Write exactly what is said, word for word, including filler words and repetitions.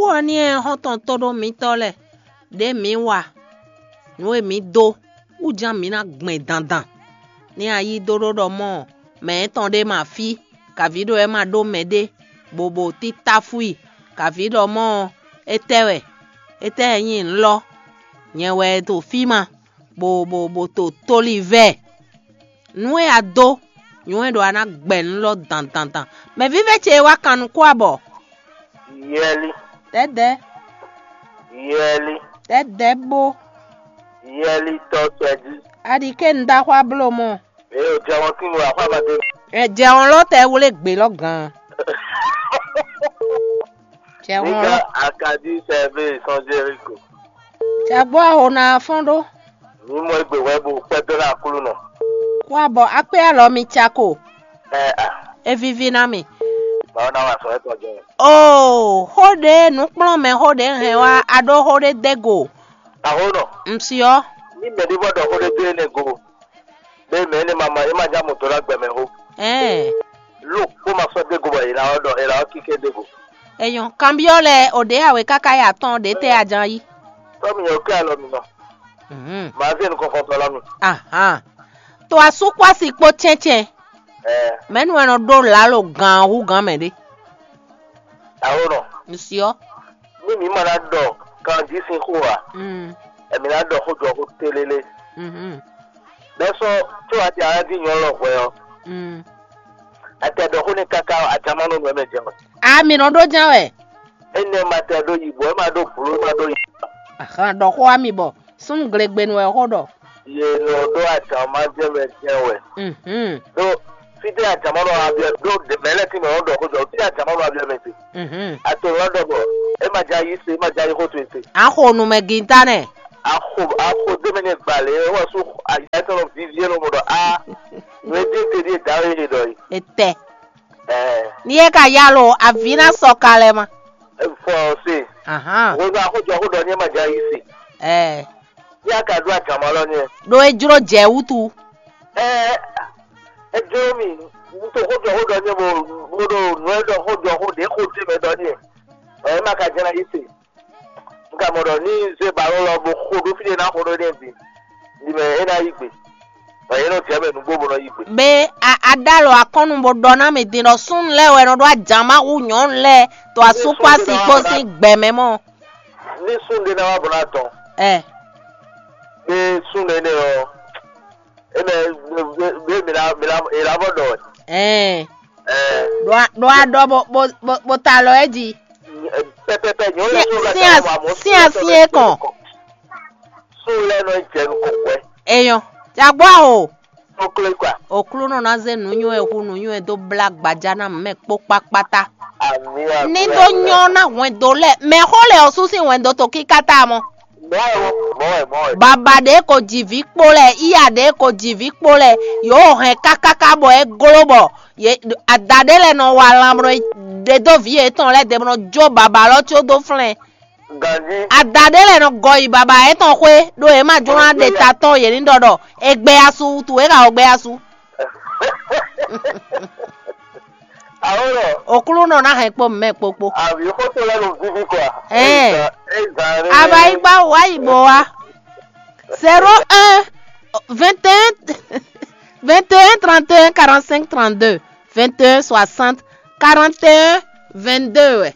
Xó ɔ́ ní ɛ xɔ́ntɔn tóɖó mitɔ́ lɛ́ɛ, ɖě mǐ wa nǔ e mǐ dó wú ján mǐ ná gbɛn dandan. Ní a yí dó ɖó ɖɔ mɔ́ mɛ étɔn ɖé ma fí, kaví ɖɔ é ma ɖó mɛɖé, bó bó títáfú i, kaví ɖɔ mɔ́ étɛ́ wɛ, étɛ́ wɛ nyí nǔ lɔ? Nyɛ wɛ ɖo fí ma, bó bó bó to tóli vɛ. Nǔ e a dó, nyɔ̌ wɛ ɖɔ a ná gbɛ nǔ lɔ dandandan. Mɛ vívɛ́ ce e wá kan nukún abɔ. Yɛli, Dɛ̌dɛ̌, yɛli, dɛ̌dɛ̌ bó. Yɛli tɔ tɔɛ jí. A ɖi ké un dó axwá bló mɔ. Eye o jɛ wɔn tín wɛ axwá ma dé. Ɛ jɛ wɔn lɔ tɛ wlé gbě lɔ gán. Jɛ wɔn Nígbà lɔ. Akadi sɛvé sɔn Jericho. Jɛ gbɔ aho na fɔn ɖó. Ní mɔ egbe hwɛ bo kpɛdó ná Aklúnɔ. Kó abɔ akpé alɔ mi ca ko. Ɛ a, E vivi ná mi. Mawu ná wa sɔ etɔn jɛ. Oo, xó ɖé nǔkplɔ́nmɛ xó ɖé hɛn wá a ɖó xó ɖé dé go. Aho nɔ. Un syɔ. Ní mɛ ɖé bɔ ɖɔ xó ɖé dó énɛ́ go. Bɛ mɛ énɛ́ ma ma é ma já mɔ dó ná gbɛ mɛ xó. Ɛɛ. Lo kó ma sɔ́ dé go bɔ è nǎ ɔ́ ɖɔ è nǎ ɔ́ kíké dé go. Enyɔ, kanbyɔ́ lɛ o ɖě a wě káká yi atɔ́n ɖě tɛ a ján yí. Tɔ́ mi nyɔ kí alɔ mi nɔ. Mhm. Màá zé nukɔn kɔn tɔn lɔ mi. Ahan. To asú kpó asi kpó cɛ́ncɛn. Ɛɛ. Mɛ̌nu wɛ nɔ ɖó lǎlo gǎn hú gǎn mɛ ɖé. Awo nɔ. Ŋsyɔ. Ní mǐ ma ná ɖɔ kanjí sín xó ǎ, Mm. Ɛmǐ ná ɖɔ xó jɔ xó télélé. Mhm. Bɛ́ sɔ́ có a ti a ná dín nyɔ̌ lɔ hwɛ ɔ́, Mm. A tɛ ɖɔ xó n'i káká ɔ́, a jǎ má nɔ nǔ ɛmɛ jɛ wɛ. A mǐ nɔ ɖó ján wɛ. Énɛ́ ma tɛ ɖó yi bɔ é ma ɖó blǒ é ma ɖó yi. Ahan, ɖɔ xó wá mi bɔ súnnu glegbenu wɛ xó ɖɔ. Ye nɔ ɖó ajǎ má jɛ mɛ jɛ wɛ. Mhm. Ɖó fítɛ́ ajǎ má nɔ wá biɔ ɖó mɛ lɛ́ɛ tín mɛ nɔ ɖɔ xó jɔ fítɛ́ ajǎ má nɔ wá biɔ mɛ te. Mhm. A to nɔ ɖɔ bɔ é ma jɛ ayí se, é ma jɛ ayí xó towe te. A xo nu mɛ gintá nɛ. A xo a xo dé mɛ nɛ gbalě é wɔ sú ayɛ tɔn nɔ vivi é nɔ mɔ ɖɔ a nǔ e dín te ɖíe dǎwe é ɖɔ yi. Etɛ. Ɛɛ. Ni e ka yalo avi na sɔ ka lɛ ma. Fɔ se. Ahan. Wo nɔ axɔjɔ xó ɖɔ ní ma dza yi se. Ɛɛ. Ní a ka ɖó adama lɔ ní. Ɖo e jlo jɛ wutu. Ɛɛ. Ejlo mi. Ŋutɔ xɔjɔ xó ɖɔ ní bo bo ɖo nǔ e ɖɔ xɔjɔ xó ɖe xó te mɛ ɖɔ ní. Ɛɛ ma ka jɛ na yi se. Un ka mɔ ɖɔ ní zé balɔn lɔ bo xo ɖó fí ɖé ná xo ɖó n'i bǐ, ɖi mɛ é ná yí gbe, bɔ yě nɔ jɛ mɛ nǔgbó bó nɔ yí gbe. Be a a ɖó alɔ akɔ́nnu bó ɖɔ ná mi din ɖɔ súnnu lɛ́ɛ wɛ nɔ ɖó ajǎn má hú nyɔ̌nu lɛ́ɛ to asúkpási kpó sín gbɛ̌ mɛ mɔ. Ní súnnu ɖé ná wá bó ná dɔn, Ɛ gbé súnnu énɛ́ ɔ́, énɛ́ gbé mi ná mi ná è ná vɔ ɖɔ wɛ. Ɛɛ Ɛɛ ɖo a ɖo a ɖɔ bó bó bó bó ta alɔ ɛ jí. Pɛpɛpɛ nyɔ̌nu lɛ́ɛ tó lɛ́ Sin tɛ́ wá mɔ̌ sin asin é kɔn. Sún lɛ́ɛ nɔ jɛ nukɔn hwɛ. Eyɔn. Jagbɔ aho. Tó klé kɔa. Oklúnɔ ná zé nǔnywɛ́ hu nǔnywɛ́ dó blá gbaja ná mɛ kpó kpákpátá. Àmì àmì. Ní dó nyɔ́ ná hwɛndo lɛ́ɛ mɛ xó lɛ ɔ́ sú sín hwɛndo tó kíkátá mɔ. Mɔ̌ wɛ mɔ̌ wɛ mɔ̌ wɛ. Baba ɖě ko ji vǐ kpó lɛ, iya ɖě ko ji vǐ kpó lɛ, yǒ hɛn kákáká bɔ é gló bɔ yě ada ɖé lɛ́ɛ nɔ wa lan bɔ ɖe dó vǐ yětɔn lɛ́ɛ ɖe bɔ jó baba lɔ có dó flɛ́n. Ganjí. Ada ɖé lɛ́ɛ nɔ gɔ yi baba yětɔn xwé ɖó yě ma jló ná ɖe ta tɔn yě ní ɖɔ ɖɔ è gbɛ asu wutu é ka wɔ gbɛ asu. Awo lɔ. Oklúnɔ ná hɛn kpó mɛ kpokpo. Àbí xótó lɛ́ nɔ víví kɔa. Ɛɛ. Eza eza. Abayigba wa yi bɔ wa. Zéro un, vingt et un, vingt et un, trente et un, quarante-cinq, trente-deux, vingt et un, soixante, quarante et un, vingt-deux wɛ.